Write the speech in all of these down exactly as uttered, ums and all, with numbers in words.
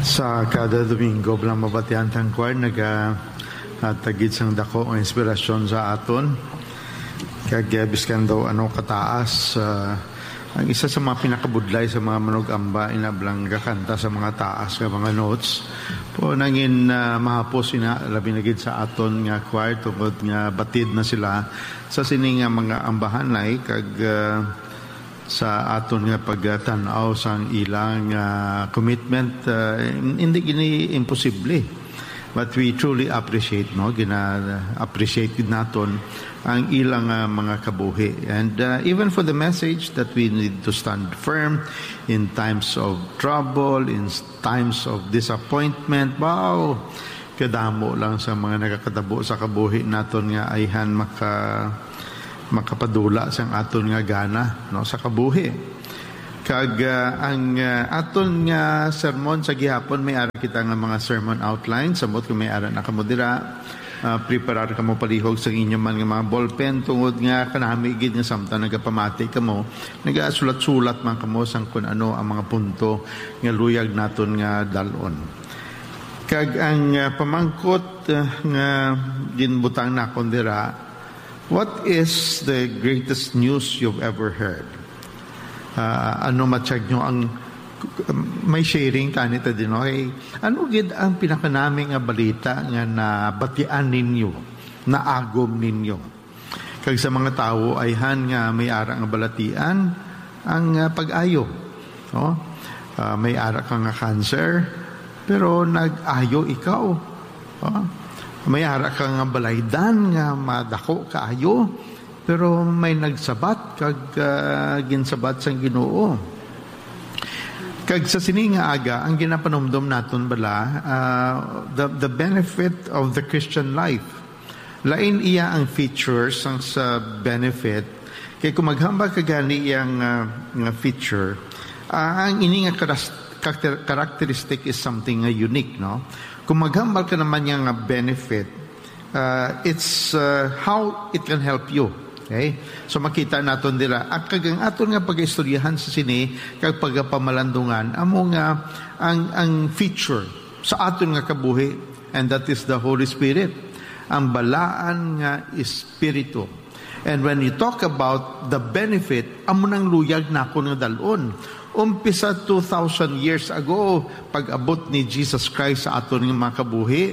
Sa kada Domingo, bilang mabatian sang choir, naga, ah, tagid sang dako nga inspirasyon sa aton. Kag, eh, biskan daw ano kataas, ah, ang isa sa mga pinakabudlay sa mga manug-amba, ina bilang gakanta sa mga taas nga mga notes. Po, nangin, ah, mahapos ina, labi na gid sa aton nga choir, tungod nga batid na sila sa sini nga mga ambahanay, kag, ah, sa aton nga pagtan-aw sang ilang, ah, commitment, ah, hindi gini imposible. But we truly appreciate, no? Gina-appreciate gid naton ang ilang, ah, mga kabuhi. And, ah, even for the message that we need to stand firm in times of trouble, in s-, times of disappointment. Wow! Kadamo lang sa mga nagakatabo sa kabuhi naton nga ayhan maka-, makapadula sang aton nga gana, no, sa kabuhi. Kag, ah, ang, ah, aton nga sermon sa gihapon, may ara kita nga mga sermon outline. Samot kung may ara na kamo dira, ah, preparar kamo palihog sa inyo man nga mga ballpen, tungod nga kanami gid nga samtang nagapamati kamo, nagasulat-sulat man kamo sang kun ano ang mga punto nga luyag naton nga dal-on. Kag ang, ah, pamangkot, ah, nga ginbutang nakon dira, "What is the greatest news you've ever heard?" Ah, ano matiyag nyo ang, may sharing tani ta din, okay? Ano gid ang pinakanami nga balita nga nabatian ninyo, naagom ninyo? Kag sa mga tawo ayhan nga may ara nga balatian, ang, ah, pag-ayo, no? Ah, may ara ka nga cancer, pero nag-ayo ikaw. Oh, may ara ka nga balaydan nga madako kaayo, pero may nagsabat kag, ah, ginsabat sang Ginoo. Kag sa sini nga aga, ang ginapanumdom naton bala, ah, the, the benefit of the Christian life. Lain iya ang features sang sa benefit. Kay kung maghambal ka gani iya nga, nga feature, ah, ang ini nga karas-, karakter-, characteristic is something nga unique, no? Kung maghambal ka naman niya nga benefit, ah, it's, ah, how it can help you. Okay? So, makita naton dira. At kag ang aton nga pag-istoryahan sa sini, kag pagapamalandungan, amo nga ang, ang feature sa aton nga kabuhi, and that is the Holy Spirit, ang balaan nga Espiritu. And when you talk about the benefit, amo nang luyag nakon nga dal-on. Umpisa two thousand years ago, pag-abot ni Jesus Christ sa aton nga mga kabuhi,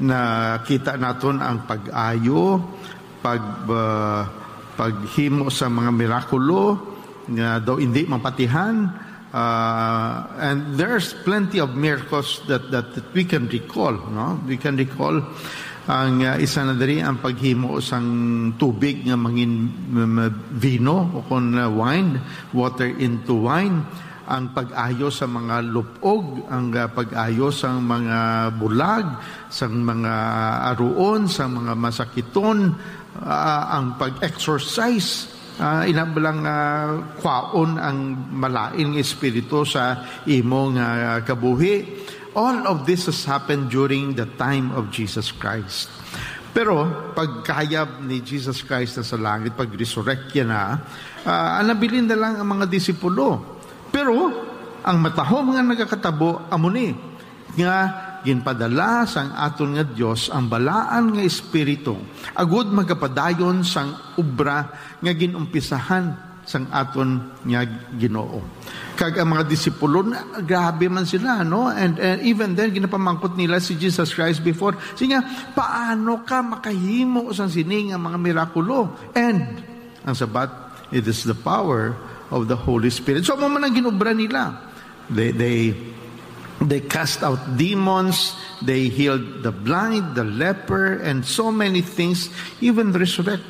nakita naton ang pag-ayo, pag, uh, paghimo sa mga mirakulo nga daw hindi mapatihan. Uh, and there's plenty of miracles that, that, that we can recall, no? We can recall ang, uh, isa na diri ang paghimo sang tubig nga mangin, m-, m-, vino o kon, uh, wine, water into wine, ang pag-ayo sa mga lupog, ang, uh, pag-ayo sang mga bulag, sang mga aruon, sang mga masakiton, uh, ang pag-exorcise, uh, ina bala nga, uh, kwaon ang malain nga espiritu sa imo nga kabuhi. All of this has happened during the time of Jesus Christ. Pero pagkayab ni Jesus Christ na sa langit, pag-resurrect niya na, ah, ang nabilin na lang ang mga disipulo. Pero ang matahom nga nagakatabo, amo ni, nga ginpadala sang aton nga Dios ang balaan nga Espiritu, agud magapadayon sang obra nga ginumpisahan sang aton nga Ginoo. Kag ang mga disipulo, na, grabe man sila, no? And, and even then, ginapamangkot nila si Jesus Christ before. Siya, "Paano ka makahimo sang sini nga mga mirakulo?" And ang sabat, "It is the power of the Holy Spirit." So, amo man ang ginobra nila. They, they, they cast out demons, they healed the blind, the leper, and so many things, even resurrect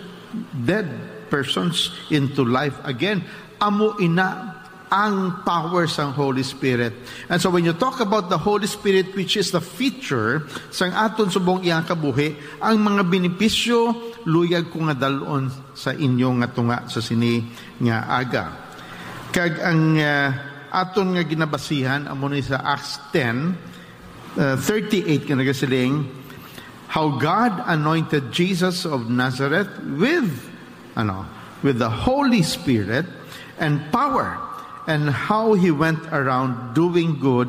dead persons into life again. Amo ina ang power sang Holy Spirit. And so when you talk about the Holy Spirit, which is the feature sang aton subong iyang kabuhi, ang mga benepisyo, luyag ko nga dal-on sa inyo nga tunga sa sini nga aga. Kag ang, ah, aton nga ginabasihan amo ni sa Acts ten, uh, thirty-eight nga nagasiling, "How God anointed Jesus of Nazareth with, ano, with the Holy Spirit and power, and how he went around doing good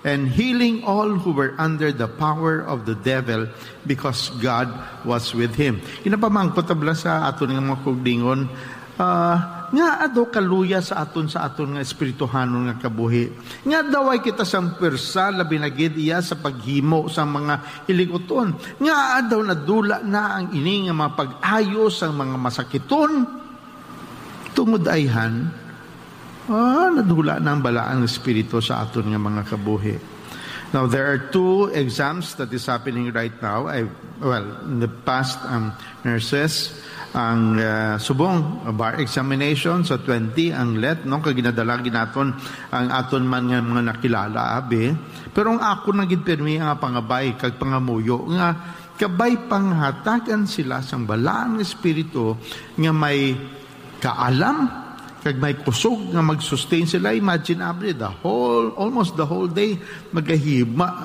and healing all who were under the power of the devil, because God was with him. Ginapamangkot ta bala sa aton nga mga kugdingon, ah, nga ado kaluya sa aton, sa aton nga espirituhanon nga kabuhi. Nga daw ay kita sang pwersa, labi na gid iya sa paghimo sang mga hilikuton. Nga daw nadula na ang ini nga mga pag-ayo sang mga masakiton. Tungod ayhan, ah, nadula na ang balaan nga espiritu sa aton nga mga kabuhi. Now, there are two exams that is happening right now. I, well, in the past, ang nurses, ang, ah, subong, bar examination sa twenty, ang let, no? Kag ginadala gid naton ang aton man nga mga nakilala, abi. Pero ang ako na gid pirmi nga pangabay kag pangamuyo nga kabay panghatagan sila sang balaan nga espiritu nga may kaalam, kag may kusog nga mag-sustain sila. Imagine, abi, the whole, almost the whole day, magahima,